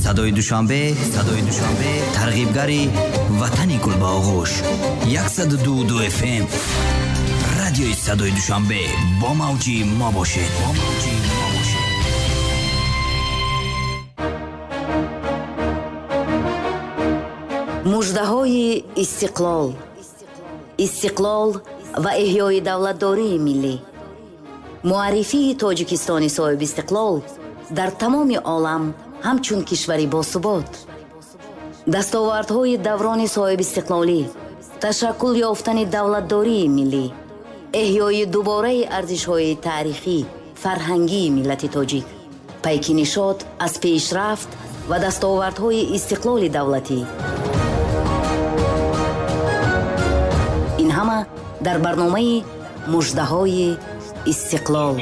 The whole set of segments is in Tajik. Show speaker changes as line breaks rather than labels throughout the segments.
Садои Душанбе, Садои Душанбе, тарғибгари ватани гулбаоғӯш. 102.2 FM. Радиои Садои Душанбе бо мавҷи мо бошед. Бо мавҷи мо бошед.
Муждаҳои истиқлол. Истиқлол ва эҳёи давлатдории миллӣ. Муаррифии Тоҷикистони соҳибистиқлол дар тамоми олам ҳамчун кишвари босубот. Дастовардҳои даврони соҳибистиқлолӣ, ташаккул ёфтани давлатдории миллӣ, эҳёи дубораи арзишҳои таърихӣ, фарҳангии миллати тоҷик, пайки нишот аз пешрафт ва дастовардҳои истиқлоли давлатӣ. Ин ҳама дар барномаи Муждаҳои истиқлол.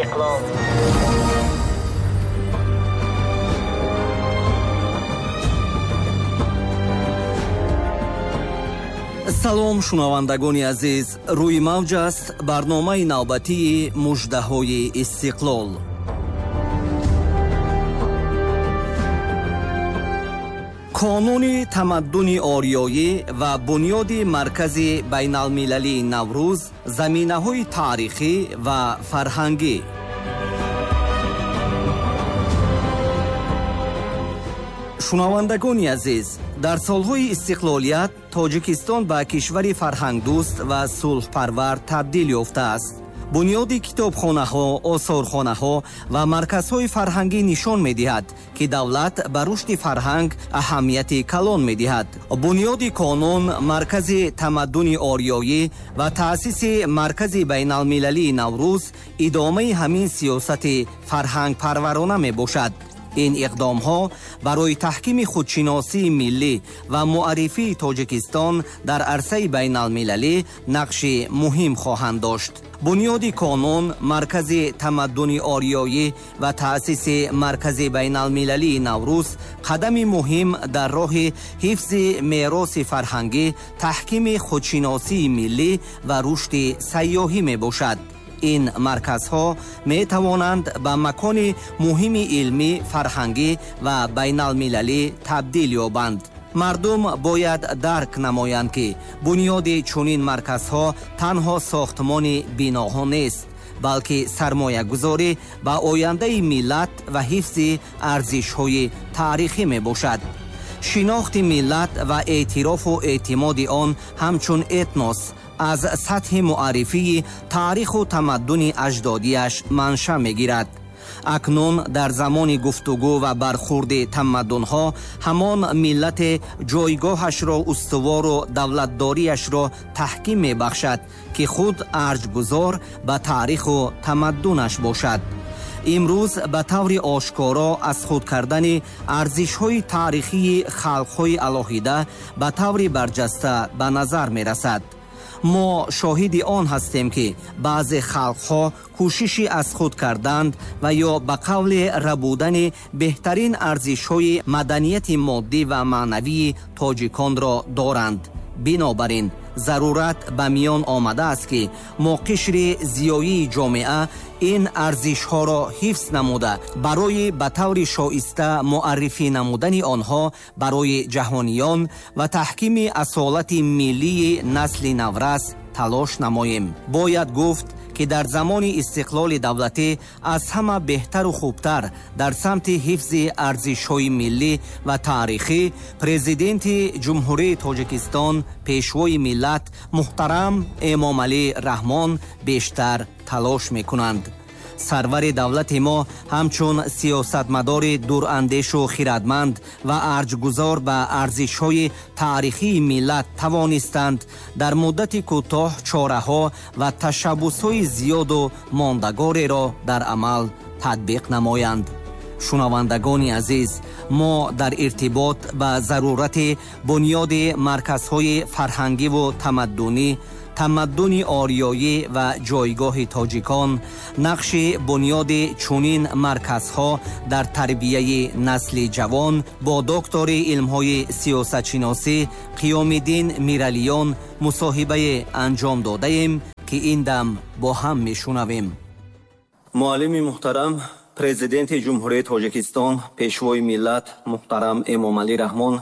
Салом, шунавандагони азиз. Рӯи мавҷ аст барномаи навбатии Муждаҳои истиқлол. Қонуни тамаддуни ориёӣ ва бунёди маркази байналмилалии Наврӯз, заминаҳои таърихӣ ва фарҳангӣ. Шунавандагони азиз, дар солҳои истиқлолият Тоҷикистон ба кишвари фарҳангдӯст ва сулҳпарвар табдил ёфтааст. Бунёди китобхонаҳо, осорхонаҳо ва марказҳои фарҳангӣ нишон медиҳад, ки давлат ба рушди фарҳанг аҳамияти калон медиҳад. Бунёди қонун, маркази тамаддуни ориёӣ ва таъсиси маркази байналмилалии Наврӯз идомаи ҳамин сиёсати фарҳангпарварона мебошад. Ин иқдомҳо барои таҳкими худшиносии миллӣ ва муаррифии Тоҷикистон дар арсаи байналмилалӣ нақши муҳим хоҳанд дошт. Бунёди қонун, маркази тамаддуни ориёӣ ва таъсиси маркази байналмилалии Наврӯз қадами муҳим дар роҳи ҳифзи мероси фарҳангӣ, таҳкими худшиносии миллӣ ва рушди сайёҳӣ мебошад. Ин марказҳо метавонанд ба макони муҳими илмӣ, фарҳангӣ ва байналмилалӣ табдил ёбанд. Мардум бояд дарк намоянд, ки бунёди чунин марказҳо танҳо сохтмони биноҳо нест, балки сармоягузорӣ ба ояндаи миллат ва ҳифзи арзишҳои таърихӣ мебошад. Шинохти миллат ва эътирофу эътимоди он ҳамчун этнос аз сатҳи муаррифии таъриху тамаддуни аҷдодиаш манша мегирад. Акнун дар замони гуфтугӯ ва бархурди тамаддунҳо ҳамон миллате ҷойгоҳашро устувору давлатдориашро таҳким мебахшад, ки худ арҷгузор ба таъриху тамаддунаш бошад. Имрӯз ба таври ошкоро аз худ кардани арзишҳои таърихии халқҳои алоҳида ба таври барҷаста ба назар мерасад. Мо шоҳиди он ҳастем, ки баъзе халқҳо кӯшиши аз худ карданд ва ё ба қавли рабудани беҳтарин арзишҳои маданияти моддӣ ва маънавии тоҷиконро доранд. Бинобар ин зарурат ба миён омадааст, ки мо қишри зиёии ҷомеа ин арзишҳоро ҳифз намуда, барои ба таври шоиста муаррифӣ намудани онҳо барои ҷаҳониён ва таҳкими асолати миллии насли наврас талош намоем. Бояд гуфт, ки дар замони истиқлоли давлатӣ аз ҳама беҳтару хубтар дар самти ҳифзи арзишҳои миллӣ ва таърихӣ Президенти Ҷумҳурии Тоҷикистон, Пешвои миллат муҳтарам Эмомалӣ Раҳмон бештар талош мекунанд. Сарвари давлати мо ҳамчун сиёсатмадори дурандешу хирадманд ва арҷгузор ба арзишҳои таърихии миллат тавонистанд дар муддати кӯтоҳ чораҳо ва ташаббусҳои зиёду мондагореро дар амал татбиқ намоянд. Шунавандагони азиз, мо дар иртибот ба зарурати бунёди марказҳои фарҳангиву тамаддунӣ, тамаддуни ориёӣ ва ҷойгоҳи тоҷикон, нақши бунёди чунин марказҳо дар тарбияи насли ҷавон бо доктори илмҳои сиёсатшиносӣ Қиёмиддин Миралиён мусоҳибае анҷом додаем, ки ин дам бо ҳам мешунавем. Муаллими муҳтарам, Президенти Ҷумҳурии Тоҷикистон, Пешвои миллат муҳтарам Эмомалӣ Раҳмон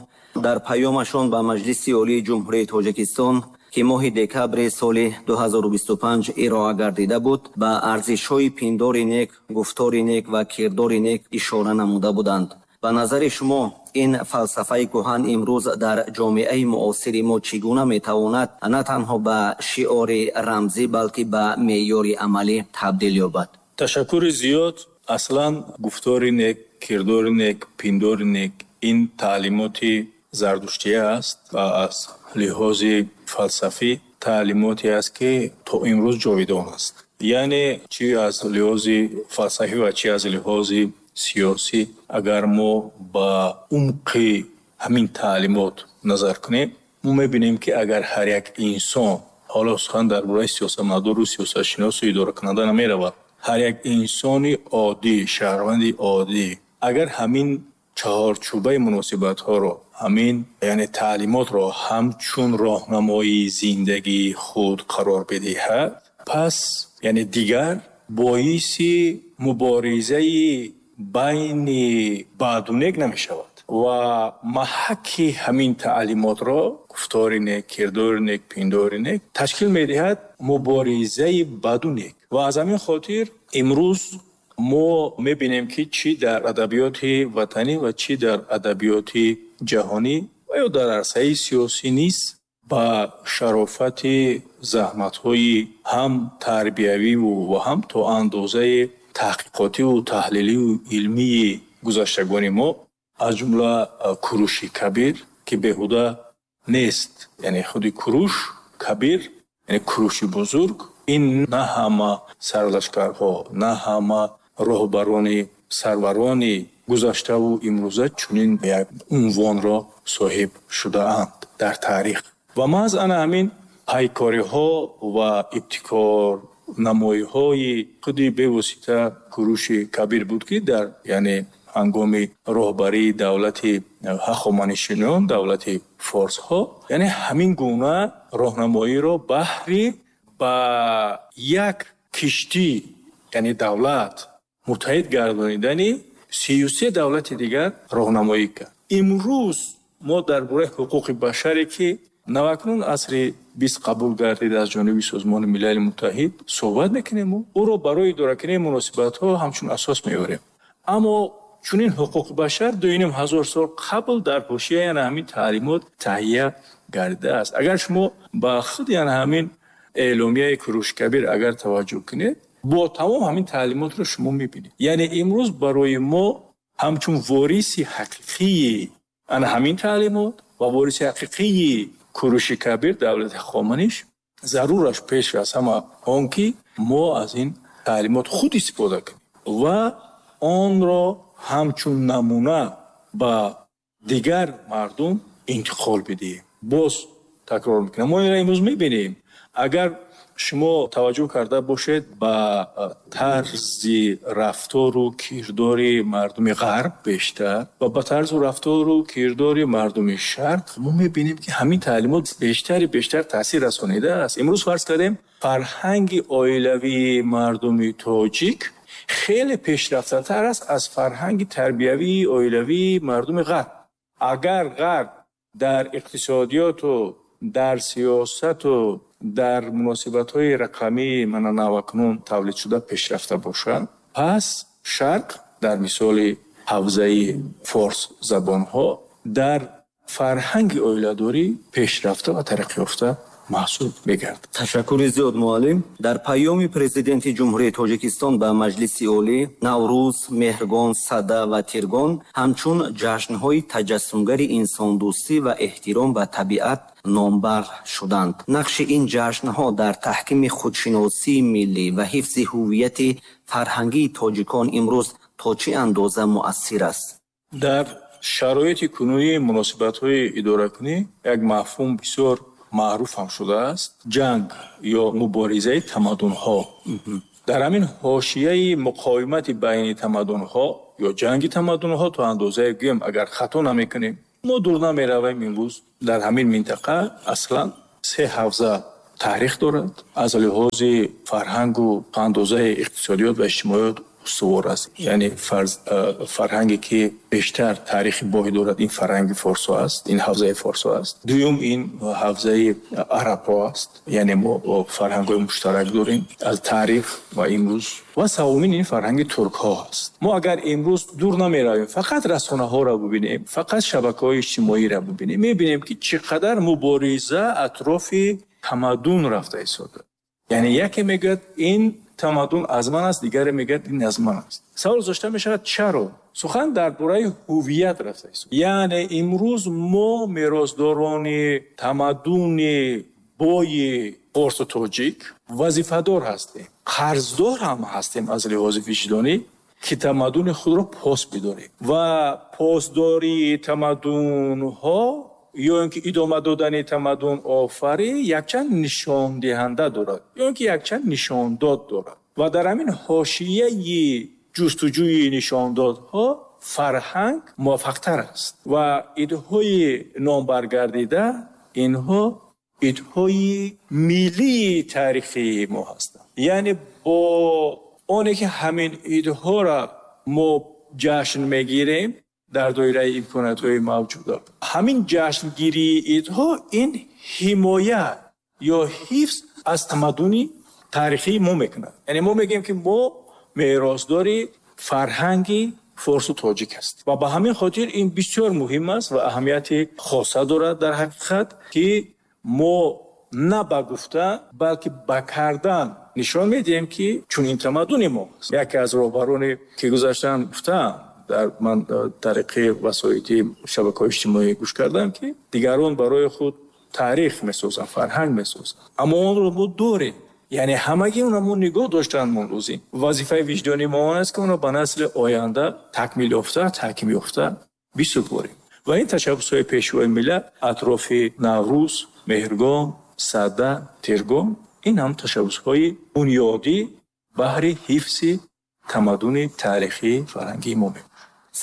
дар паёмашон ба Маҷлиси Олии Ҷумҳурии Тоҷикистон, ки моҳи декабри соли 2025 ироа гардида буд, ба арзишҳои пиндори нек, гуфтори нек ва кирдори нек ишора намуда буданд. Ба назари шумо, ин фалсафаи кӯҳан имрӯз дар ҷомеаи муосири мо чӣ гуна метавонад на танҳо ба шиори рамзӣ, балки ба меъёри амалӣ табдил ёбад?
Ташаккури зиёд. Аслан гуфтори нек, кирдори нек, пиндори нек ин таълимоти зардуштия аст ва аз лиҳози фалсафӣ таълимоте аст, ки то имрӯз ҷовидон аст. Яъне чӣ аз лиҳози фалсафӣ ва чӣ аз лиҳози сиёсӣ, агар мо ба умқи ҳамин таълимот назар кунем, мо мебинем, ки агар ҳар як инсон, ҳоло сухан дар бораи сиёсатмадору сиёсатшиносу идоракунанда намеравад, ҳар як инсони оддӣ, шаҳрванди оддӣ, агар ҳамин чаҳорчӯбаи муносибатҳоро, ҳамин яъне таълимотро ҳамчун роҳнамои зиндагии худ қарор бидиҳад, пас яъне дигар боиси муборизаи байни баду нек намешавад ва маҳакки ҳамин таълимотро, гуфтори нек, кирдори нек, пиндори нек, ташкил медиҳад муборизаи баду нек. Ва аз ҳамин хотир имрӯз мо мебинем, ки чӣ дар адабиёти ватанӣ ва чӣ дар адабиёти ҷаҳонӣ ва ё дар арсаи сиёсӣ низ ба шарофати заҳматҳои ҳам тарбиявиву ва ҳам то андозаи таҳқиқотиву таҳлиливу илмии гузаштагони мо, аз ҷумла Куруши Кабир, ки беҳуда нест, яъне худи Куруш Кабир, яъне Куруши бузург, ин на ҳама сарлашкарҳо, на ҳама роҳбарони сарварони гузаштаву имрӯза чунин як унвонро соҳиб шудаанд дар таърих. Ва маҳз ана ҳамин пайкориҳо ва ибтикорнамоиҳои худи бевосита Куруши Кабир буд, ки дар яъне ҳангоми роҳбарии давлати ҳахоманишиён, давлати форсҳо, яъне ҳамин гуна роҳнамоиро баҳри ба як киштӣ, яъне давлат, муттаҳид гардонидани 33 давлати дигар роҳнамоӣ кард. Имрӯз мо дар бораи ҳуқуқи башаре, ки навакнун асри 20 қабул гардид аз ҷониби Созмони Милали Муттаҳид, суҳбат мекунем, ӯро барои идоракунии муносибатҳо ҳамчун асос меорем. Аммо чунин ҳуқуқи башар 2500 сол қабл дар ҳошияи ана ҳамин таълимот таҳия гардидааст. Агар шумо ба худи ана ҳамин эъломияи Куруши Кабир агар таваҷҷӯҳ кунед, бо тамом ҳамин таълимотро шумо мебинед. Яъне имрӯз барои мо ҳамчун вориси ҳақиқии ана ҳамин таълимот ва вориси ҳақиқии Куруши Кабир, давлати Ҳахоманиш, зарураш пеш аз ҳама он ки мо аз ин таълимот худ истифода кунем ва онро ҳамчун намуна ба дигар мардум интиқол бидиҳем. Боз такрор мекунам, мо инро имрӯз мебинем. Агар шумо таваҷҷӯҳ карда бошед ба тарзи рафтору кирдори мардуми ғарб бештар ва ба тарзу рафтору кирдори мардуми шарқ, мо мебинем, ки ҳамин таълимот бештари бештар таъсир расонидааст. Имрӯз фарз кардем, фарҳанги оилавии мардуми тоҷик хеле пешрафтатар аст аз фарҳанги тарбиявии оилавии мардуми ғарб. Агар ғарб дар иқтисодиёту дар сиёсату дар муносибатҳои рақамии мана навакнун тавлидшуда пешрафта бошад, пас шарқ дар мисоли ҳавзаи форс забонҳо дар фарҳанги оиладорӣ пешрафта ва тараққиёфта маҳсуб мегардад.
Ташаккури зиёд, муаллим. Дар паёми Президенти Ҷумҳурии Тоҷикистон ба Маҷлиси Олӣ Наврӯз, Меҳргон, Сада ва Тиргон ҳамчун ҷашнҳои таҷассумгари инсондӯстӣ ва эҳтиром ба табиат номбар шуданд. Нақши ин ҷашнҳо дар таҳкими худшиносии миллӣ ва ҳифзи ҳуввияти фарҳангии тоҷикон имрӯз то чӣ андоза муассир аст?
Дар шароити кунунии муносибатҳои идоракунӣ як мафҳум бисёр маъруф ҳам шудааст: ҷанг ё муборизаи тамаддунҳо. Дар ҳамин ҳошияи муқовимати байни тамаддунҳо ё ҷанги тамаддунҳо то андозае гӯем, агар хато намекунем, мо дур намеравем, имрӯз дар ҳамин минтақа аслан се ҳавза таърих дорад, аз лиҳози фарҳангу андозаи иқтисодиёт ва иҷтимоиёт устувор аст. Яъне фарҳанге ки бештар таърихи бой дорад, ин фарҳанги форсо аст, ин ҳавзаи форсо аст. Дуюм, ин ҳавзаи арабҳо аст, яъне мо фарҳангҳои муштарак дорем аз таърих ва имрӯз. Ва севумин, ин фарҳанги туркҳо аст. Мо агар имрӯз дур намеравем, фақат расонаҳоро бубинем, фақат шабакаҳои иҷтимоиро бубинем, мебинем ки чӣ қадар мубориза атрофи тамаддун рафта истода. Яъне яке мегӯяд, ин тамаддун аз ман аст, дигаре мегӯяд, ин аз ман аст. Савол гузошта мешавад, чаро? Сухан дар бораи ҳувият рафта истода. Яъне имрӯз мо меросдорони тамаддуни бои форсу тоҷик вазифадор ҳастем, қарздор ҳам ҳастем аз лиҳози виҷдонӣ, ки тамаддуни худро пос бидорем. Ва посдории тамаддунҳо ё ин ки идома додани тамаддун офарӣ якчанд нишондиҳанда дорад, ё ин ки якчанд нишондод дорад. Ва дар ҳамин ҳошияи ҷустуҷӯи нишондодҳо фарҳанг муваффақтар аст. Ва идҳои номбаргардида инҳо идҳои миллии таърихии мо ҳастанд. Яъне бо оне ки ҳамин идҳоро мо ҷашн мегирем дар доираи имкониятҳои мавҷуда, ҳамин ҷашнгирии идҳо ин ҳимоя ё ҳифз аз тамаддуни таърихии мо мекунад. Яъне мо мегӯем ки мо меросдори фарҳанги форсу тоҷик ҳастем. Ва ба ҳамин хотир ин бисёр муҳим аст ва аҳамияти хоса дорад дар ҳақиқат, ки мо на ба гуфта, балки ба кардан нишон медиҳем, ки чунин тамаддуни мо аст. Яке аз роҳбароне ки гузаштан гуфтаам, дар ман тариқи васоити шабакаҳои иҷтимоӣ гӯш кардам, ки дигарон барои худ таърих месозанд, фарҳанг месозанд, аммо онро мо дорем. Яъне ҳамагӣ онро мо нигоҳ доштан мо лозим. Вазифаи виҷдонии мо он аст, ки онро ба насли оянда такмил ёфта, таҳким ёфта бисупорем. Ва ин ташаббусҳои пешвои миллат атрофи Наврӯз, Меҳргон, Сада, Тиргон, ин ҳам ташаббусҳои бунёдӣ баҳри ҳифзи тамаддуни таърихии фарҳангии мо мебошад.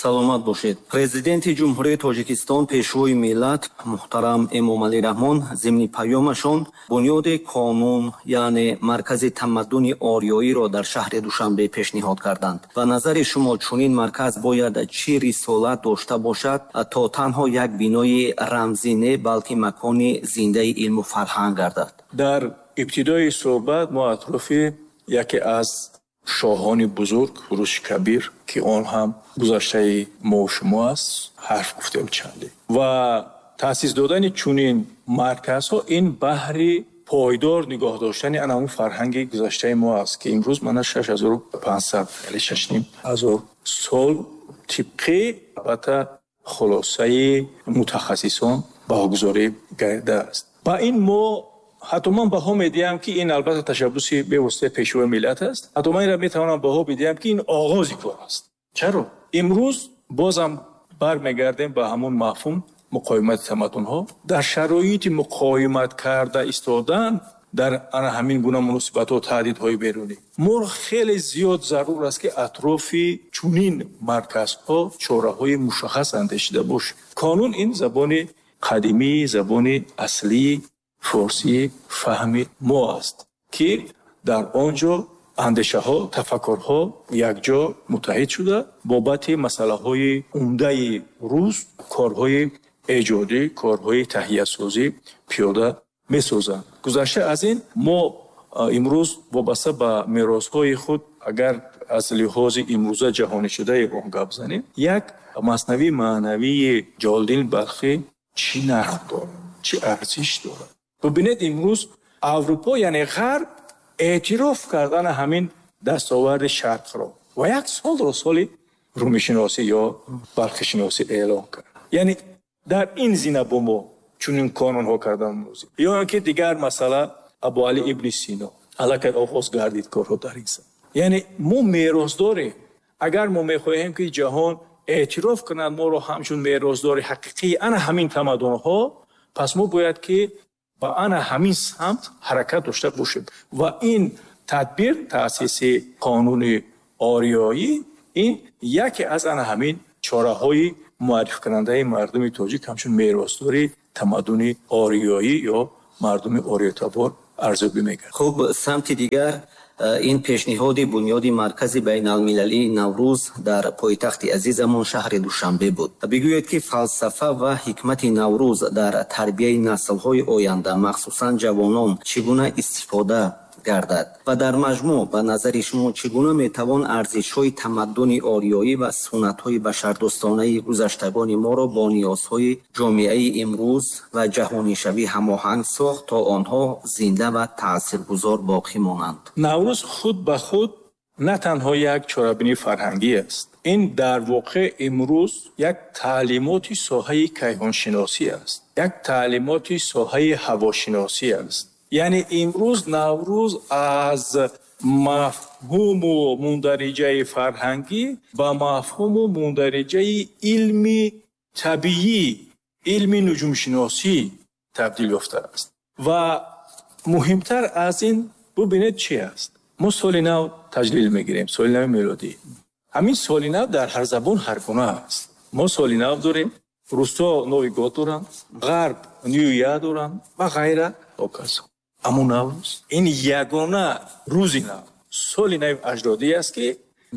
Саломат бошед. Президенти Ҷумҳурии Тоҷикистон, пешвои миллат муҳтарам Эмомалӣ Раҳмон зимни паёмашон бунёди қонун, яъне маркази тамаддуни ориёиро дар шаҳри Душанбе пешниҳод карданд. Ба назари шумо чунин марказ бояд чӣ рисолат дошта бошад, то танҳо як бинои рамзӣ не, балки макони зиндаи илму фарҳанг гардад?
Дар ибтидои суҳбат мо атрофи яке аз шоҳони бузург Куруши Кабир, ки он ҳам гузаштаи мо шумо аст, ҳарф гуфтем чанде. Ва таъсис додани чунин марказҳо ин баҳри пойдор нигоҳ доштани ана он фарҳанги гузаштаи мо аст, ки имрӯз мана 6500, яъне 6500 сол тибқи албатта хулосаи мутахассисон баҳогузорӣ гардидааст. Ба ин мо ҳатто ман баҳо медиҳам, ки ин албатта ташаббуси бевоситаи пешвои миллат аст. Ҳатто ман инро метавонам баҳо бидиҳам, ки ин оғози кор аст. Чаро? Имрӯз бозам бармегардем ба ҳамон мафҳум муқовимати тамаддунҳо. Дар шароити муқовимат карда истодан дар ана ҳамин гуна муносибатҳо, таҳдидҳои берунӣ, моро хеле зиёд зарур аст, ки атрофи чунин марказҳо чораҳои мушаххас андешида бошем. Қонун ин забони қадимӣ, забони аслии форсии фаҳми мо аст, ки дар он ҷо андешаҳо, тафаккурҳо якҷо муттаҳид шуда бобати масъалаҳои умдаи рӯз корҳои эҷодӣ, корҳои таҳиясозӣ пиёда месозанд. Гузашта аз ин, мо имрӯз вобаста ба меросҳои худ, агар аз лиҳози имрӯза ҷаҳонишудаи он гап занем, як маснавии маънавии Ҷалолиддин Балхӣ чӣ нарх дорад, чӣ арзиш дорад? Бубинед, имрӯз Аврупо, яъне Ғарб, эътироф кардан ҳамин дастоварди Шарқро ва як солро соли румишиносӣ ё балхишиносӣ эълон кард. Яъне дар ин зина бо мо чунин қонунҳо кардан лозим. Ё ин ки дигар масъала Абуалӣ ибни Сино, аллакай оғоз гардид корҳо дар ин самт. Яъне мо меросдорем. Агар мо мехоҳем, ки ҷаҳон эътироф кунад моро ҳамчун меросдори ҳақиқии ана ҳамин тамаддунҳо, пас мо бояд ки ба ана ҳамин самт ҳаракат дошта бошем. Ва ин тадбир, таъсиси қонуни ориёӣ, ин яке аз ана ҳамин чораҳои муаррифкунандаи мардуми тоҷик ҳамчун меросдори тамаддуни ориёӣ ё мардуми ориётабор арзёбӣ мегардад.
Хуб, самти дигар Ин пешниҳоди бунёди Маркази байналмилалии Наврӯз дар пойтахти азизамон шаҳри Душанбе буд. Бигӯед, ки фалсафа ва ҳикмати Наврӯз дар тарбияи наслҳои оянда, махсусан ҷавонон, чӣ гуна истифода гардад ва дар маҷмӯъ ба назари шумо чӣ гуна метавон арзишҳои тамаддуни ориёӣ ва суннатҳои башардӯстонаи гузаштагони моро бо ниёзҳои ҷомеаи имрӯз ва ҷаҳонишавӣ ҳамоҳанг сохт, то онҳо зинда ва таъсиргузор боқӣ монанд?
Наврӯз худ ба худ на танҳо як чорабинии фарҳангӣ аст. Ин дар воқеъ имрӯз як таълимоти соҳаи кайҳоншиносӣ аст, як таълимоти соҳаи ҳавошиносӣ аст. Яъне имрӯз Наврӯз аз мафҳуму мундариҷаи фарҳангӣ ба мафҳуму мундариҷаи илми табиӣ, илми нуҷумшиносӣ табдил ёфтааст. Ва муҳимтар аз ин бубинед чи аст. Мо соли нав таҷлил мегирем, соли нави мелодӣ. Ҳамин соли нав дар ҳар забон ҳар гуна аст. Мо соли нав дорем, русҳо Новый год доранд, ғарб New Year доранд ва ғайра ҳоказо. Аммо Наврӯз ин ягона рӯзи нав, соли нави аҷдодӣ аст, ки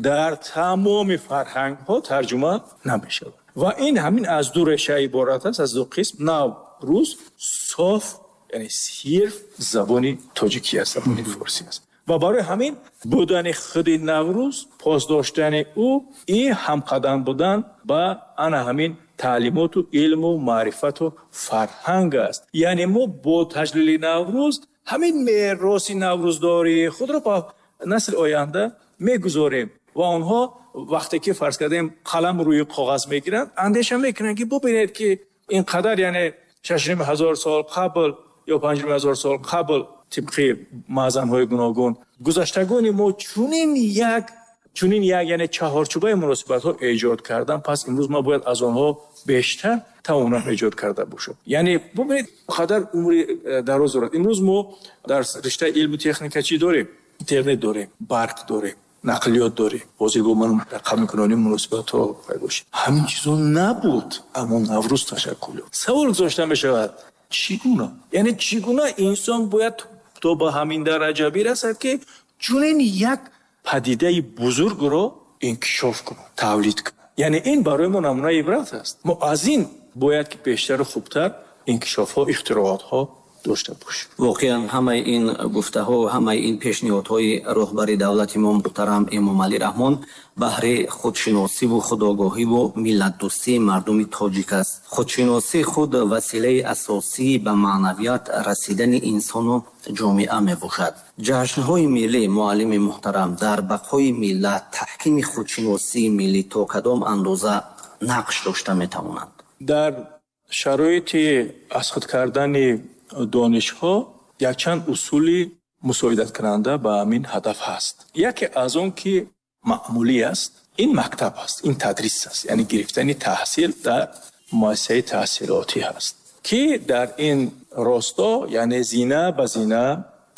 дар тамоми фарҳангҳо тарҷума намешавад. Ва ин ҳамин аз ду реша иборат аст, аз ду қисм. Нав рӯз соф, яъне сирф забони тоҷикӣ аст, забони форсӣ аст. Ва барои ҳамин будани худи Наврӯз, пос доштани ӯ, ин ҳамқадам будан ба ана ҳамин таълимоту илму маърифату фарҳанг аст. Яъне мо бо таҷлили Наврӯз ҳамин мероси наврӯздории худро ба насли оянда мегузорем ва онҳо вақте ки фарз кардем қалам рӯи коғаз мегиранд, андеша мекунанд, ки бубинед, ки ин қадар, яъне 6500 сол қабл ё 5500 сол қабл тибқи маъзанҳои гуногун гузаштагони мо чунин як яъне чаҳорчӯбаи муносибатҳо эҷод кардан, пас имрӯз мо бояд аз онҳо бештар тавонам эҷод карда бошем. Яъне бубинед, қадар умри дароз дорад. Имрӯз мо дар риштаи илму техника чӣ дорем? Интернет дорем, барқ дорем, нақлиёт дорем. Ҳозир бо ман рақамикунонии муносибатҳо пайдо шуд. Ҳамин чизо набуд, аммо Наврӯз ташаккул ёфт. Савол гузошта мешавад, чӣ гуна? Яъне чӣ гуна инсон бояд то ба ҳамин дараҷа бирасад, ки чунин як падидаи бузургро инкишоф кунад, тавлид кунад? Яъне ин барои мо намунаи ибрат аст. Мо аз ин бояд ки бештару хубтар инкишофҳо, ихтироотҳо дошта бошем.
Воқеан ҳамаи ин гуфтаҳо, ҳамаи ин пешниҳодҳои роҳбари давлати мо муҳтарам Эмомалӣ Раҳмон баҳри худшиносиву худогоҳиву миллатдӯстии мардуми тоҷик аст. Худшиносӣ худ василаи асосии ба маънавият расидани инсону ҷомеа мебошад. Ҷашнҳои миллӣ, муаллими муҳтарам, дар бақои миллат, таҳкими худшиносии миллӣ то кадом андоза нақш дошта метавонанд?
Дар шароити аз худ кардани донишҳо якчанд усули мусоидаткунанда ба ҳамин ҳадаф ҳаст. Яке аз он ки маъмулӣ аст, ин мактаб аст, ин тадрис аст, яъне гирифтани таҳсил дар муассисаи таҳсилотӣ ҳаст, ки дар ин росто, яъне зина ба зина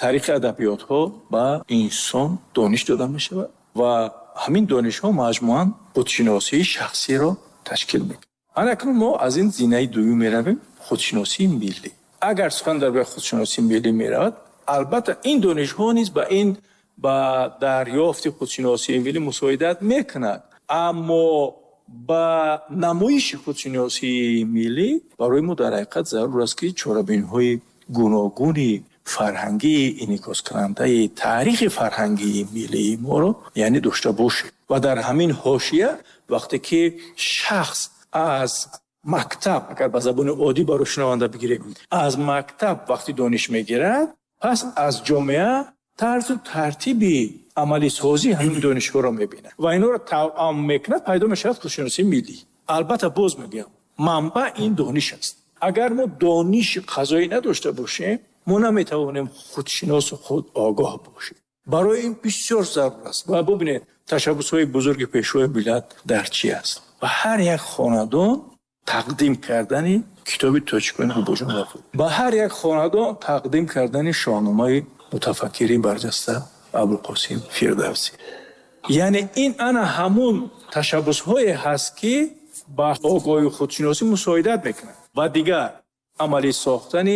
таърихи адабиётҳо ба инсон дониш дода мешавад ва ҳамин донишҳо маҷмӯан худшиносии шахсиро ташкил мекунад. Ана акнун мо аз ин зинаи дуюм меравем, худшиносии миллӣ. Агар сухан дар бораи худшиносии миллӣ меравад, албатта ин донишҳо низ ба дарёфти худшиносии миллӣ мусоидат мекунад, аммо ба намоиши худшиносии миллӣ барои мо дар ҳақиқат зарур аст, ки чорабиниҳои гуногуни фарҳангии инъикоскунандаи таърихи фарҳангии миллии моро яъне дошта бошем. Ва дар ҳамин ҳошия вақте ки шахс аз мактаб, агар ба забони оддӣ барои шунаванда бигирем, аз мактаб вақти дониш мегирад, пас аз ҷомеа тарзу тартиби амалисозии ҳамин донишҳоро мебинад ва инҳоро тавъам мекунад, пайдо мешавад худшиносии миллӣ. Албатта боз мегӯям, манбаъ ин дониш аст. Агар мо дониши қазоӣ надошта бошем, мо наметавонем худшиносу худогоҳ бошем. Барои ин бисёр зарур аст. Ва бубинед, ташаббусҳои бузурги пешвои миллат дар чӣ аст? Ба ҳар як хонадон тақдим кардани китоби тоҷикони Бобоҷон Ғафуров, ба ҳар як хонадон тақдим кардани шоҳномаи мутафаккири барҷаста Абулқосим Фирдавсӣ. Яъне ин ана ҳамун ташаббусҳое ҳаст, ки ба огоҳию худшиносӣ мусоидат мекунад. Ва дигар амалӣ сохтани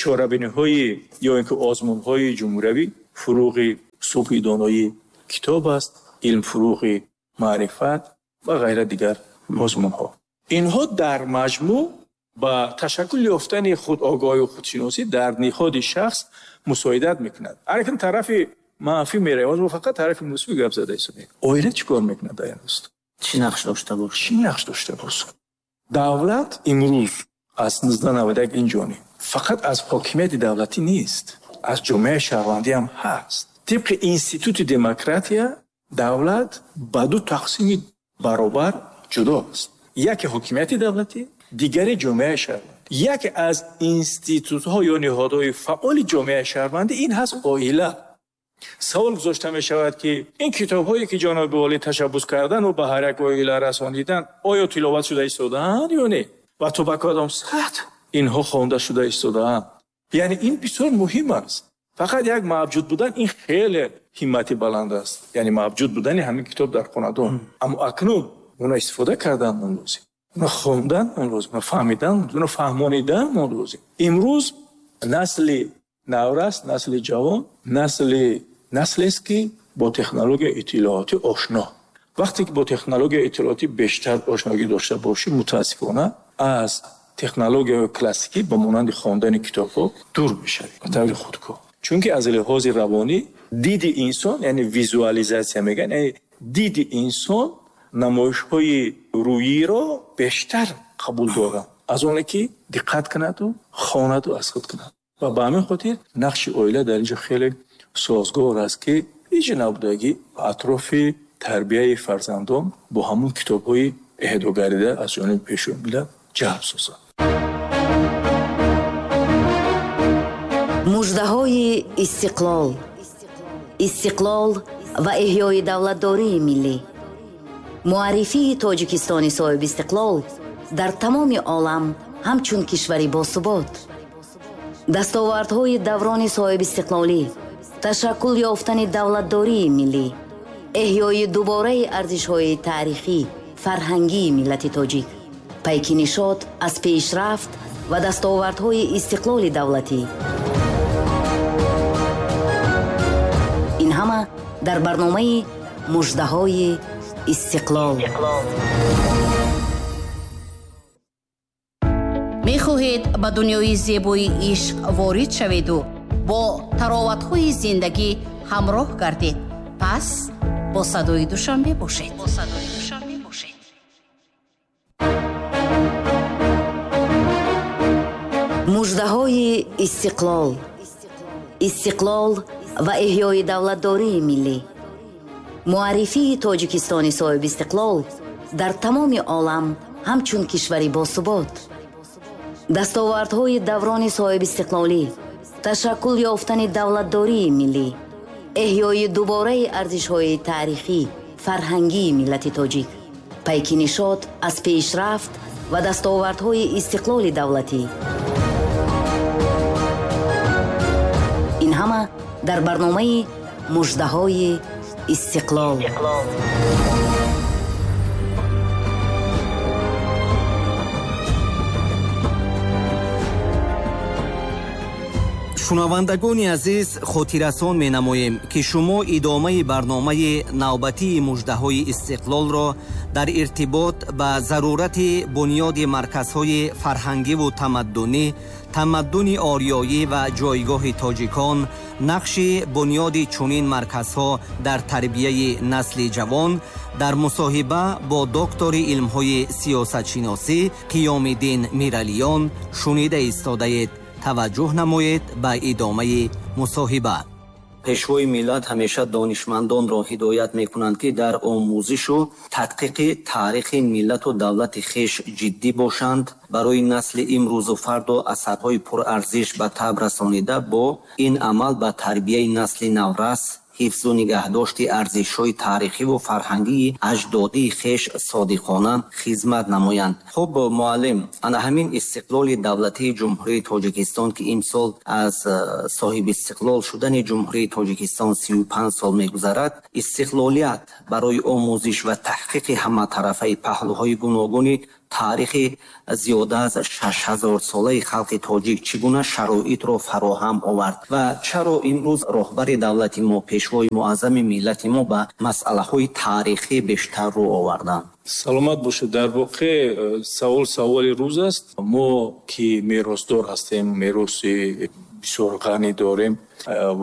чорабиниҳои ё ин ки озмунҳои ҷумҳуриявӣ фуруғи Субҳи доноӣ китоб аст, илм фурӯғи маърифат ва ғайра дигар мазмунҳо. Инҳо дар маҷмӯъ ба ташаккул ёфтани худогоҳӣ ва худшиносӣ дар ниҳоди шахс мусоидат мекунад. Акнун тарафи манфӣ меравад, мо фақат тарафи мусбӣ гап зада истодаем. Оила чӣ кор мекунад дар ин рост?
Чӣ нақш дошта бошад?
Чӣ нақш дошта бошад? Давлат имрӯз аз 1991 ин ҷониб фақат аз ҳокимияти давлатӣ нест, аз ҷомеаи шаҳрвандӣ ҳам ҳаст. Тибқи институти демократия давлат ба ду тақсими баробар ҷудо аст. Яке ҳокимияти давлатӣ, дигаре ҷомеаи шаҳрвандӣ. Яке аз институтҳо ё ниҳодҳои фаъоли ҷомеаи шаҳрвандӣ ин ҳаст оила. Савол гузошта мешавад, ки ин китобҳое ки ҷаноби олӣ ташаббус кардан ва ба ҳар як оила расонидан, оё тиловат шуда истодаанд ё не? Ва то ба кадом сатҳ инҳо хонда шуда истодаанд? Яъне ин бисёр муҳим аст. Фақат як мавҷуд будан ин хеле ҳиммати баланд аст. Яъне мавҷуд будани ҳамин китоб дар хонадон. Аммо акнун онро истифода кардан мон лозим, онро хондан мон лозим, онро фаҳмидан, онро фаҳмонидан мон лозим. Имрӯз насли наврас, насли ҷавон, наслест, ки бо технологияи иттилоотӣ ошно. Вақте ки бо технологияи иттилоотӣ бештар ошногӣ дошта бошӣ, мутаассифона аз технологияи классикӣ ба монанди хондани китобҳо дур мешавӣ ба таври худкор. Чунки аз лиҳози равонӣ диди инсон, яъне визуализатсия мегӯянд, яъне диди инсон намоишҳои рӯиро бештар қабул дорад аз оне ки диққат кунаду хонаду аз худ кунад. Ва ба ҳамин хотир нақши оила дар инҷо хеле созгор аст, ки ҳеҷ набудагӣ атрофи тарбияи фарзандон бо ҳамон китобҳои эҳдогарида аз ҷониби Пешвои миллат ҷалб созад.
Муждаҳои истиқлол. Истиқлол ва эҳёи давлатдории миллӣ. Муаррифии Тоҷикистони соҳибистиқлол дар тамоми олам ҳамчун кишвари босубот. Дастовардҳои даврони соҳибистиқлолӣ, ташаккул ёфтани давлатдории миллӣ, эҳёи дубораи арзишҳои таърихӣ, фарҳангии миллати тоҷик, пайки нишот аз пешрафт ва дастовардҳои истиқлоли давлатӣ. Ин ҳама дар барномаи муждаҳои истиқлол.
Мехоҳед ба дунёи зебои ишқ ворид шаведу бо тароватҳои зиндагӣ ҳамроҳ гардед? Пас бо садои Душанбе бошед.
Муждаҳои истиқлол. Истиқлол ва эҳёи давлатдории миллӣ. Муаррифии Тоҷикистони соҳибистиқлол дар тамоми олам ҳамчун кишвари босубот. Дастовардҳои даврони соҳибистиқлолӣ, ташаккул ёфтани давлатдории миллӣ, эҳёи дубораи арзишҳои таърихӣ, фарҳангии миллати тоҷик, пайки нишот аз пешрафт ва дастовардҳои истиқлоли давлатӣ. Ин ҳама дар барномаи муждаҳои истиқлол.
Шунавандагони азиз, хотиррасон менамоем, ки шумо идомаи барномаи навбатии муждаҳои истиқлолро дар иртибот ба зарурати бунёди марказҳои фарҳангиву тамаддунӣ, тамаддуни ориёӣ ва ҷойгоҳи тоҷикон, нақши бунёди чунин марказҳо дар тарбияи насли ҷавон дар мусоҳиба бо доктори илмҳои сиёсатшиносӣ Қиёмиддин Миралиён шунида истодаед. Таваҷҷӯҳ намоед ба идомаи мусоҳиба.
Пешвои миллат ҳамеша донишмандонро ҳидоят мекунанд, ки дар омӯзишу тадқиқи таърихи миллату давлати хеш ҷиддӣ бошанд, барои насли имрӯзу фардо асарҳои пурарзиш ба таб расонида, бо ин амал ба тарбияи насли наврас, ҳифзу нигаҳдошти арзишҳои таърихиву фарҳангии аҷдодии хеш содиқона хизмат намоянд. Хуб, муаллим, ана ҳамин истиқлоли давлатии Ҷумҳурии Тоҷикистон, ки имсол аз соҳибистиқлол шудани Ҷумҳурии Тоҷикистон 35 сол мегузарад, истиқлолият барои омӯзиш ва таҳқиқи ҳаматарафаи паҳлӯҳои гуногуни Таърихи зиёда аз 6000-солаи халқи тоҷик чӣ гуна шароитро фароҳам овард ва чаро имрӯз роҳбари давлати мо, пешвои муаззами миллати мо ба масъалаҳои таърихӣ бештар рӯ оварданд?
Саломат бошед. Дар воқеъ савол саволи рӯз аст. Мо ки меросдор ҳастем, мероси бисёр ғанӣ дорем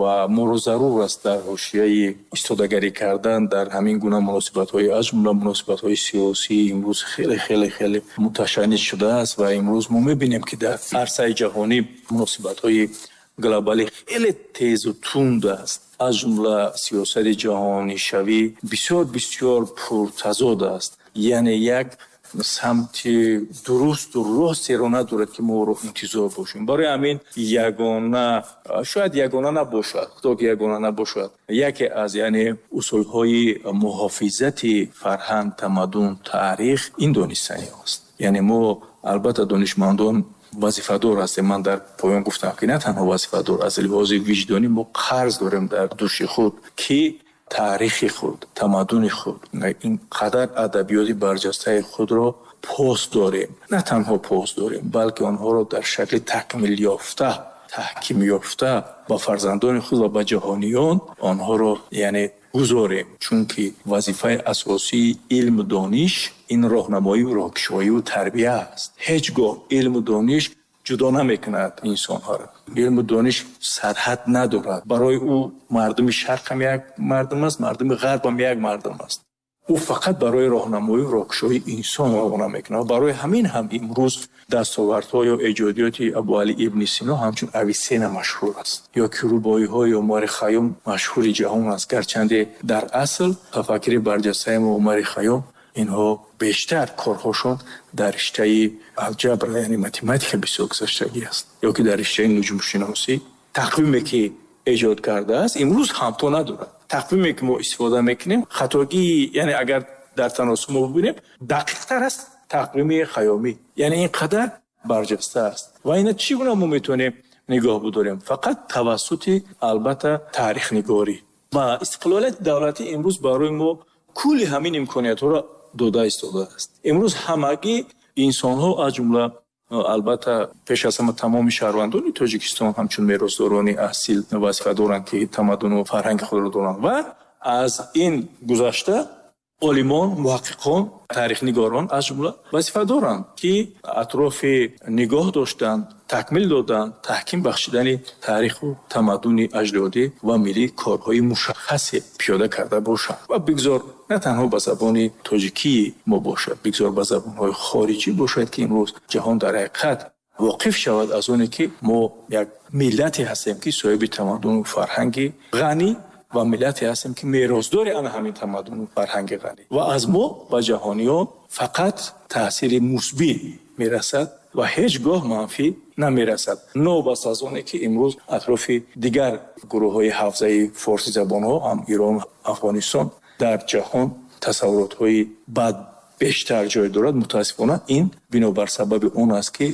ва моро зарур аст дар ҳошияи истодагарӣ кардан дар ҳамин гуна муносибатҳои, аз ҷумла муносибатҳои сиёсӣ имрӯз хеле хеле хеле муташанниҷ шудааст ва имрӯз мо мебинем, ки дар арсаи ҷаҳонӣ муносибатҳои глобалӣ хеле тезу тунд аст. Аз ҷумла сиёсати ҷаҳонишавӣ бисёр бисёр пуртазод аст. Яъне як самти дурусту ростеро надорад, ки мо ӯро интизор бошем. Барои ҳамин ягона, шояд ягона набошад, худо ки ягона набошад, яке аз яъне усулҳои муҳофизати фарҳанг, тамаддун, таърих ин донистани аст. Яъне мо албатта донишмандон вазифадор ҳастем. Ман дар поён гуфтам, ки на танҳо вазифадор, аз лиҳози виҷдонӣ мо қарз дорем дар дӯши худ, ки таърихи худ, тамаддуни худ, ин қадар адабиёти барҷастаи худро пос дорем. На танҳо пос дорем, балки онҳоро дар шакли такмил ёфта, таҳким ёфта ба фарзандони худ ва ба ҷаҳониён онҳоро яъне гузорем. Чунки вазифаи асосии илму дониш ин роҳнамоию роҳкушоию тарбия аст. Ҳеҷ гоҳ илму дониш ҷудо намекунад инсонҳоро. Илму дониш сарҳад надорад. Барои ӯ мардуми шарқ ҳам як мардум аст, мардуми ғарб ҳам як мардум аст. Ӯ фақат барои роҳнамоию роҳкушоии инсон равона мекунад. Барои ҳамин ҳам имрӯз дастовардҳо ё эҷодиёти Абуалӣ ибни Сино ҳамчун Ависена машҳур аст, ё ки рубоиҳои Умари Хайём машҳури ҷаҳон аст. Гарчанде дар асл тафаккури барҷастаи мо Умари Хайём инҳо бештар корҳошон дар риштаи алҷабр, яъне математика бисёр гузаштагӣ аст, ё ки дар риштаи нуҷумшиносӣ. Тақвиме ки эҷод кардааст, имрӯз ҳамто надорад. Тақвиме ки мо истифода мекунем, хатогии, яъне агар дар таносуб мо бибинем, дақиқтар аст тақвими Хайёмӣ. Яъне ин қадар барҷаста аст. Ва ина чӣ гуна мо метавонем нигоҳ бидорем? Фақат тавассути албатта таърихнигорӣ. Ва истиқлолияти давлатӣ имрӯз барои мо кулли ҳамин имкониятҳоро дода истодааст. Имрӯз ҳамагӣ инсонҳо, аз ҷумла албатта пеш аз ҳама тамоми шаҳрвандони Тоҷикистон ҳамчун меросдорони асил вазифа доранд, ки тамаддуну фарҳанги худро доранд ва аз ин гузашта олимон, муҳаққиқон, таърихнигорон аз ҷумла вазифа доранд, ки атрофи нигоҳ доштан, такмил додан, таҳким бахшидани таъриху тамаддуни аҷдодӣ ва миллӣ корҳои мушаххасе пиёда карда бошанд. Ва бигзор на танҳо ба забони тоҷикии мо бошад, бигзор ба забонҳои хориҷӣ бошад, ки имрӯз ҷаҳон дар ҳақиқат воқиф шавад аз оне, ки мо як миллате ҳастем, ки соҳиби тамаддуну фарҳанги ғанӣ ва миллате ҳастем, ки меросдори ана ҳамин тамаддуну фарҳанги ғанӣ. Ва аз мо ба ҷаҳониён фақат таъсири мусбӣ мерасад ва ҳеҷ гоҳ манфӣ намерасад. Новобаста аз оне, ки имрӯз атрофи дигар гурӯҳҳои ҳавзаи форсизабонҳо, ҳам Ирон, Афғонистон дар ҷаҳон тасаввуротҳои бад бештар ҷой дорад. Мутаассифона ин бинобар сабаби он аст, ки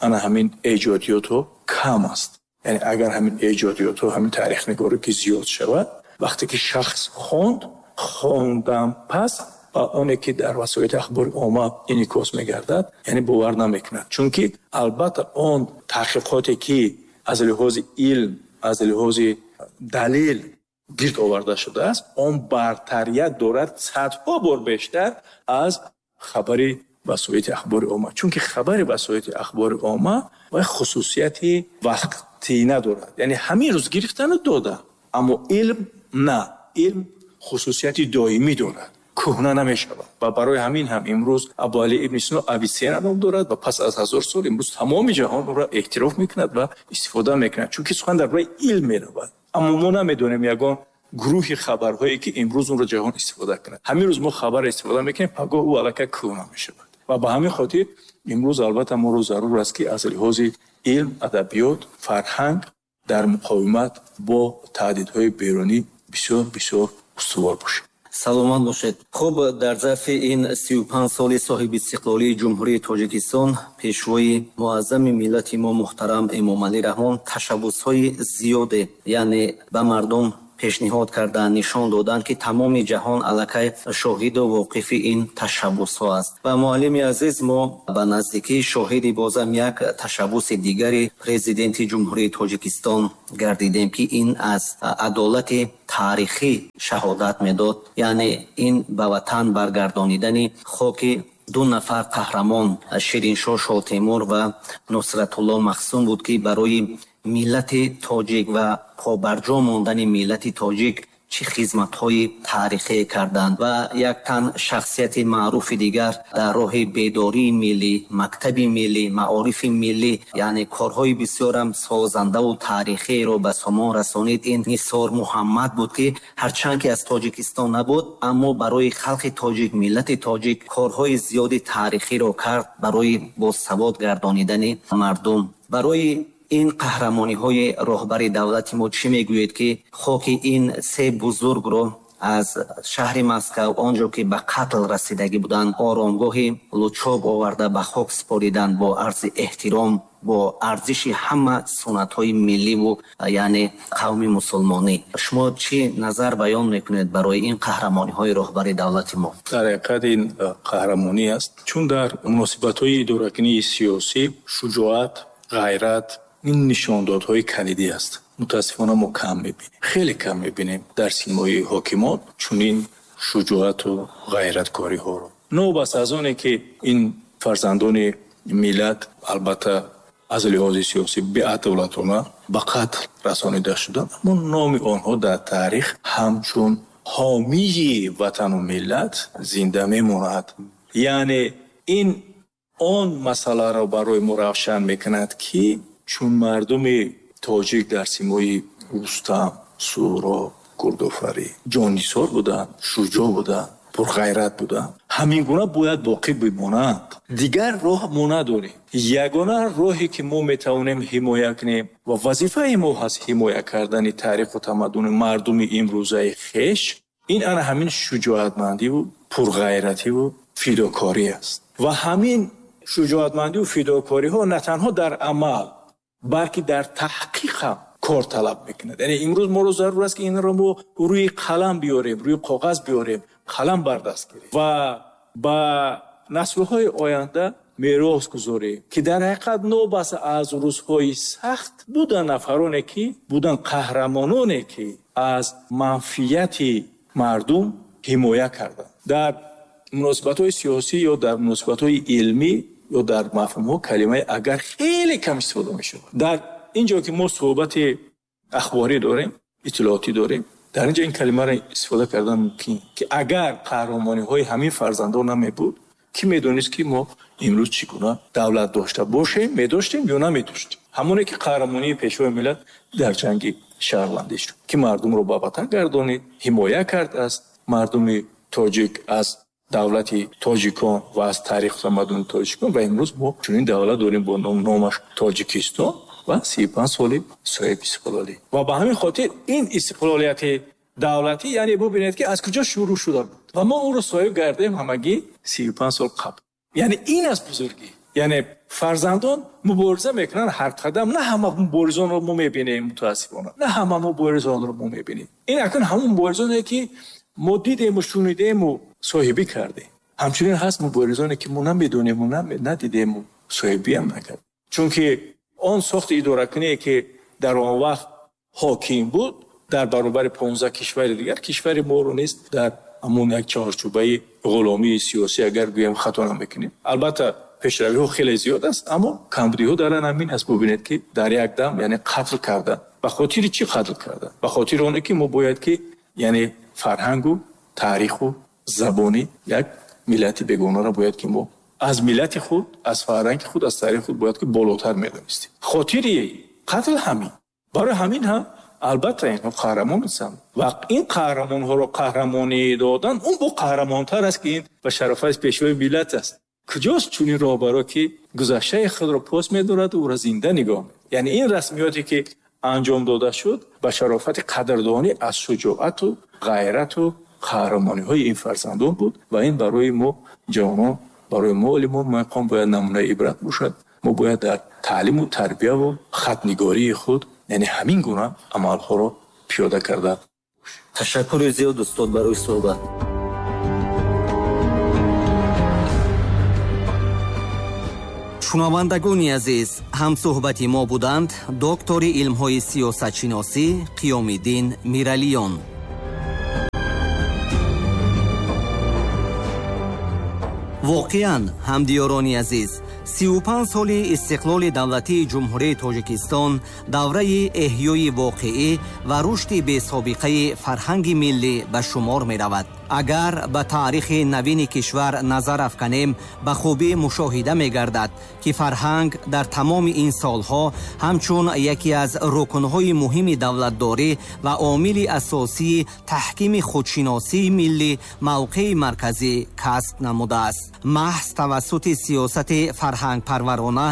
ана ҳамин эҷодиётҳо кам аст. Яъне агар ҳамин эҷодиётҳо, ҳамин таърихнигорӣ ки зиёд шавад, вақте ки шахс хонд, хондан пас ба оне ки дар васоити ахбори омма инъикос мегардад, яъне бовар намекунад. Чунки албатта он таҳқиқоте ки аз лиҳози илм, аз лиҳози далел гирд оварда шудааст, он бартарият дорад садҳо бор бештар аз хабари васоити ахбори омма. Чунки хабари васоити ахбори омма ва хусусияти вақтӣ надорад. Яъне ҳамин рӯз гирифтану дода. Аммо илм на. Илм хусусияти доимӣ дорад, кӯҳна намешавад. Ва барои ҳамин ҳам имрӯз Абуалӣ ибни Сино Ависена ном дорад ва пас аз 1000 сол имрӯз тамоми ҷаҳон ӯро эътироф мекунад ва истифода мекунад, чунки сухан дар бораи илм меравад. Аммо мо намедонем ягон гурӯҳи хабарҳое, ки имрӯз онро ҷаҳон истифода кунад. Ҳамин рӯз мо хабар истифода мекунем, пагоҳ ӯ аллакай кӯҳна мешавад. Ва ба ҳамин хотир имрӯз албатта моро зарур аст, ки аз лиҳози илм, адабиёт, фарҳанг дар муқовимат бо таҳдидҳои берунӣ бисёр бисёр устувор бошем.
Саломат бошед. Хуб, дар зарфи ин 35 соли соҳибистиқлолии Ҷумҳурии Тоҷикистон пешвои муаззами миллати мо муҳтарам Эмомалӣ Раҳмон ташаббусҳои зиёде, яъне ба мардум пешниҳод карданд, нишон доданд, ки тамоми ҷаҳон аллакай шоҳиду воқифи ин ташаббусҳо аст. Ва муаллими азиз, мо ба наздикӣ шоҳиди бозам як ташаббуси дигари Президенти Ҷумҳурии Тоҷикистон гардидем, ки ин аз адолати таърихӣ шаҳодат медод, яъне ин ба ватан баргардонидани хоки ду нафар қаҳрамон Шириншоҳ Шоҳтемур ва Нусратулло Махсум буд, ки барои миллати тоҷик ва побарҷо мондани миллати тоҷик чӣ хизматҳои таърихие карданд. Ва як тан шахсияти маъруфи дигар дар роҳи бедории миллӣ, мактаби миллӣ, маорифи миллӣ, яъне корҳои бисёрам созандаву таърихиеро ба сомон расонид, ин Нисор Муҳаммад буд, ки ҳарчанд ки аз Тоҷикистон набуд, аммо барои халқи тоҷик, миллати тоҷик корҳои зиёди таърихиро кард барои босавод гардонидани мардум. Барои ин қаҳрамониҳои роҳбари давлати мо чӣ мегӯед, ки хоки ин се бузургро аз шаҳри Москав, он ҷо ки ба қатл расидагӣ буданд, оромгоҳи Лучоб оварда ба хок супориданд бо арзи эҳтиром, бо арзиши ҳама суннатҳои милливу яъне қавми мусулмонӣ? Шумо чӣ назар баён мекунед барои ин қаҳрамониҳои роҳбари давлати мо?
Дар ҳақиқат ин қаҳрамонӣ аст, чун дар муносибатҳои идоракунии сиёсӣ шуҷоат, ғайрат ин нишондодҳои калидӣ аст. Мутаассифона мо кам мебинем, хеле кам мебинем дар симои ҳокимон чунин шуҷоату ғайраткориҳоро. Новобаста аз оне ки ин фарзандони миллат албатта аз лиҳози сиёсӣ беадолатона ба қатл расонида шуданд, аммо номи онҳо дар таърих ҳамчун ҳомии ватану миллат зинда мемонад. Яъне ин он масъаларо барои мо равшан мекунад, ки чун мардуми тоҷик дар симои Рустам, Суҳроб, Гурдофарӣ ҷоннисор буданд, шуҷоъ буданд, пурғайрат буданд, ҳамин гуна бояд боқӣ бимонанд. Дигар роҳ мо надорем. Ягона роҳе ки мо метавонем ҳимоя кунем ва вазифаи мо ҳаст ҳимоя кардани таъриху тамаддуни мардуми имрӯзаи хеш, ин ана ҳамин шуҷоатмандиву пурғайративу фидокорӣ аст. Ва ҳамин шуҷоатмандиву фидокориҳо на танҳо дар амал, балки дар таҳқиқ ҳам кор талаб мекунад. Яъне имрӯз моро зарур аст, ки инро мо рӯи қалам биёрем, рӯи коғаз биёрем, қалам бардаст гирем ва ба наслҳои оянда мерос гузорем, ки дар ҳақиқат нобаста аз рӯзҳои сахт будан нафароне ки будан қаҳрамононе ки аз манфиати мардум ҳимоя карданд. Дар муносибатҳои сиёсӣ ё дар муносибатҳои илмӣ ё дар мафҳумҳо калимаи агар хеле кам истифода мешавад. Дар ин ҷо ки мо суҳбати ахборӣ дорем, иттилоотӣ дорем, дар ин ҷо ин калимаро истифода кардан мумкин, ки агар қаҳрамониҳои ҳамин фарзандон намебуд, кӣ медонист ки мо имрӯз чӣ гуна давлат дошта бошем, медоштем ё намедоштем. Ҳамоне ки қаҳрамонии пешвои миллат дар ҷанги шаҳрвандӣ шуд, ки мардумро ба ватан гардонид, ҳимоя кард аз мардуми тоҷик, аз давлати тоҷикон ва аз таъриху тамаддуни тоҷикон. Ва имрӯз мо чунин давлат дорем бо номаш Тоҷикистон ва 35 соли соҳиби истиқлолӣ. Ва ба ҳамин хотир ин истиқлолияти давлатӣ, яъне бубинед ки аз куҷо шурӯъ шуда буд ва мо онро соҳиб гардем ҳамагӣ 35 сол қабл. Яъне ин аст бузургӣ. Яъне фарзандон мубориза мекунанд ҳар қадам. На ҳама муборизонро мо мебинем, мутаассифона на ҳама муборизонро мо мебинем. Ин акнун ҳамон муборизоне ки мо дидему шунидему соҳибӣ кардем. Ҳамчунин ҳаст муборизоне ки мо намедонему надидему соҳибиам накардем. Чунки он сохти идоракуние ки дар он вақт ҳоким буд, дар баробари 15 кишвари дигар, кишвари моро низ дар ҳамон як чаҳорчӯбаи ғуломии сиёсӣ агар гӯем хато намекунем. Албатта пешравиҳо хеле зиёд аст, аммо камбудиҳо дар ҳамин аст. Бубинед ки дар як дам яъне қатл кардан. Ба хотири чӣ қатл кардан? Ба хотири оне ки мо бояд ки яъне фарҳангу таъриху забони як миллати бегонаро бояд ки мо аз миллати худ, аз фарҳанги худ, аз таърихи худ бояд ки болотар медонистем. Хотири қатл ҳамин. Барои ҳамин ҳам албатта инҳо қаҳрамон ҳастанд ва ин қаҳрамонҳоро қаҳрамонӣ додан он бо қаҳрамонтар аст, ки ин ба шарафаи пешвои миллат аст. Куҷост чунин роҳбаро ки гузаштаи худро пос медорад ва ӯро зинда нигоҳ медорад? Яъне ин расмиёте ки анҷом дода шуд ба шарофати қадрдонӣ аз шуҷоату ғайрату қаҳрамониҳои ин фарзандон буд ва ин барои мо ҷавонон, барои мо олимон мақом бояд намунаи ибрат бошад. Мо бояд дар таълиму тарбияву хатнигории худ яъне ҳамин гуна амалҳоро пиёда карда
Ташаккури зиёд, устод, барои суҳбат.
Шунавандагони азиз, ҳамсӯҳбати мо буданд доктори илмҳои сиёсатшиносӣ Қиёмиддин Миралиён. Воқеан, ҳамдиёрони азиз, 35 соли истиқлоли давлатии Ҷумҳурии Тоҷикистон давраи эҳёи воқеӣ ва рушди бесобиқаи фарҳанги миллӣ ба шумор меравад. Агар ба таърихи навини кишвар назар афканем, ба хубӣ мушоҳида мегардад, ки фарҳанг дар тамоми ин солҳо ҳамчун яке аз рукнҳои муҳими давлатдорӣ ва омили асосии таҳкими худшиносии миллӣ мавқеи марказӣ касб намудааст. Маҳз тавассути сиёсати фарҳангпарварона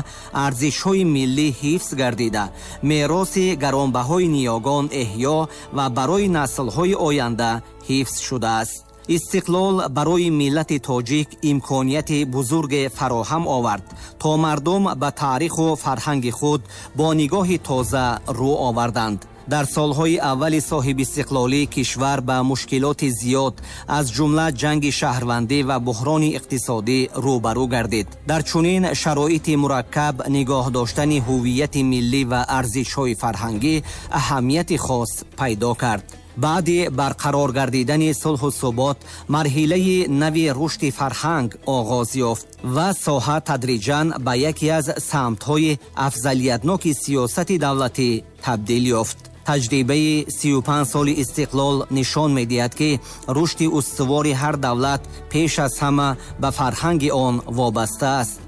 арзишҳои миллӣ ҳифз гардида, мероси гаронбаҳои ниёгон эҳё ва барои наслҳои оянда ҳифз шудааст. Истиқлол барои миллати тоҷик имконияти бузурге фароҳам овард, то мардум ба таъриху фарҳанги худ бо нигоҳи тоза рӯ оварданд. Дар солҳои аввали соҳибистиқлолӣ кишвар ба мушкилоти зиёд, аз ҷумла ҷанги шаҳрвандӣ ва буҳрони иқтисодӣ рӯбарӯ гардид. Дар чунин шароити мураккаб нигоҳ доштани ҳуввияти миллӣ ва арзишҳои фарҳангӣ аҳамияти хос пайдо кард. Баъди барқарор гардидани сулҳу субот марҳилаи нави рушди фарҳанг оғоз ёфт ва соҳа тадриҷан ба яке аз самтҳои афзалиятноки сиёсати давлатӣ табдил ёфт. Таҷрибаи 35 соли истиқлол нишон медиҳад, ки рушди устувори ҳар давлат пеш аз ҳама ба фарҳанги он вобаста аст.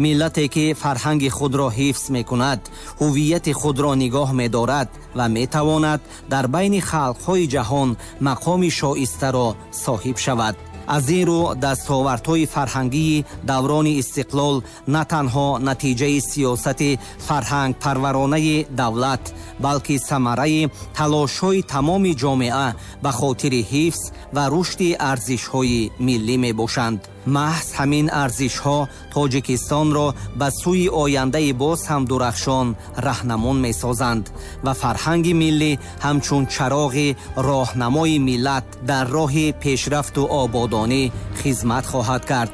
Миллате ки фарҳанги худро ҳифз мекунад, ҳуввияти худро нигоҳ медорад ва метавонад дар байни халқҳои ҷаҳон мақоми шоистаро соҳиб шавад. Аз ин рӯ дастовардҳои фарҳангии даврони истиқлол на танҳо натиҷаи сиёсати фарҳангпарваронаи давлат, балки самараи талошҳои тамоми ҷомеа ба хотири ҳифз ва рушди арзишҳои миллӣ мебошанд. Маҳз ҳамин арзишҳо Тоҷикистонро ба сӯи ояндаи боз ҳам дурахшон раҳнамон месозанд ва фарҳанги миллӣ ҳамчун чароғи роҳнамои миллат дар роҳи пешрафту ободонӣ хизмат хоҳад кард.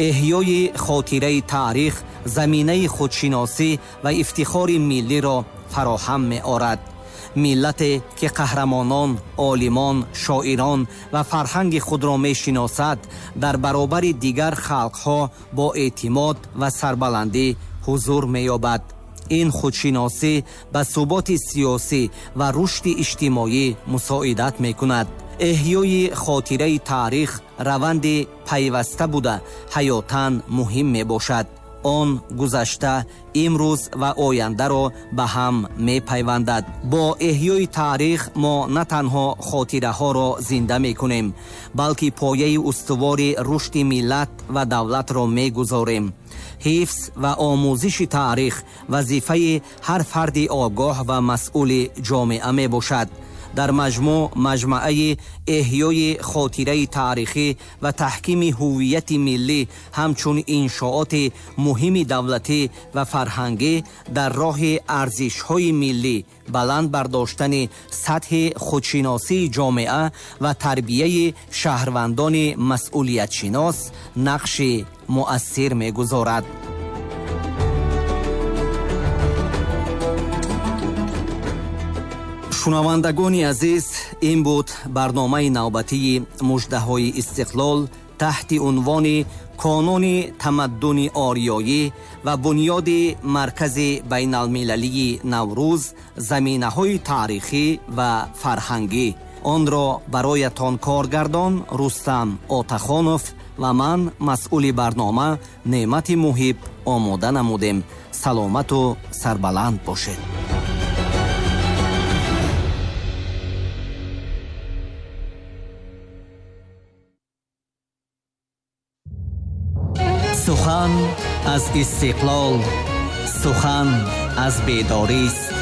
Эҳёи хотираи таърих заминаи худшиносӣ ва ифтихори миллиро фароҳам меорад. Миллате ки қаҳрамонон, олимон, шоирон ва фарҳанги худро мешиносад, дар баробари дигар халқҳо бо эътимод ва сарбаландӣ ҳузур меёбад. Ин худшиносӣ ба суботи сиёсӣ ва рушди иҷтимоӣ мусоидат мекунад. Эҳёи хотираи таърих раванди пайваста буда ҳаётан муҳим мебошад. Он гузашта, имрӯз ва ояндаро ба ҳам мепайвандад. Бо эҳёи таърих мо на танҳо хотираҳоро зинда мекунем, балки пояи устувори рушди миллат ва давлатро мегузорем. Ҳифз ва омӯзиши таърих вазифаи ҳар фарди огоҳ ва масъули ҷомеа мебошад. Дар маҷмӯъ маҷмӯаи эҳёи хотираи таърихӣ ва таҳкими ҳуввияти миллӣ ҳамчун иншооти муҳими давлатӣ ва фарҳангӣ дар роҳи арзишҳои миллӣ, баланд бардоштани сатҳи худшиносии ҷомеа ва тарбияи шаҳрвандони масъулиятшинос нақши муассир мегузорад. Шунавандагони азиз, ин буд барномаи навбатии муждаҳои истиқлол таҳти унвони Қонуни тамаддуни ориёӣ ва бунёди маркази байналмилалии Наврӯз, заминаҳои таърихӣ ва фарҳангӣ. Онро бароятон коргардон Рустам Отахонов ва ман, масъули барнома Неъмати Муҳиб, омода намудем. Саломату сарбаланд бошед. Сухан аз истиқлол, сухан аз бедорист,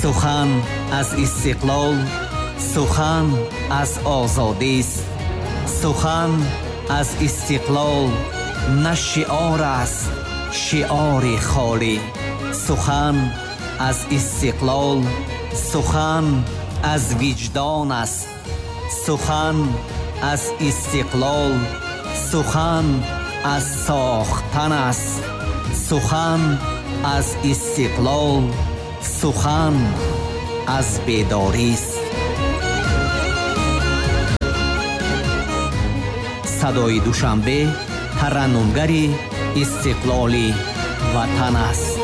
сухан аз истиқлол, сухан аз озодист, сухан аз истиқлол на шиор аст, шиори холӣ. Сухан аз истиқлол, сухан Аз виҷдон аст, сухан аз истиқлол, сухан аз сохтан аст, сухан аз истиқлол, сухан аз бедорист. Садои Душанбе тараннумгари истиқлоли ватан аст.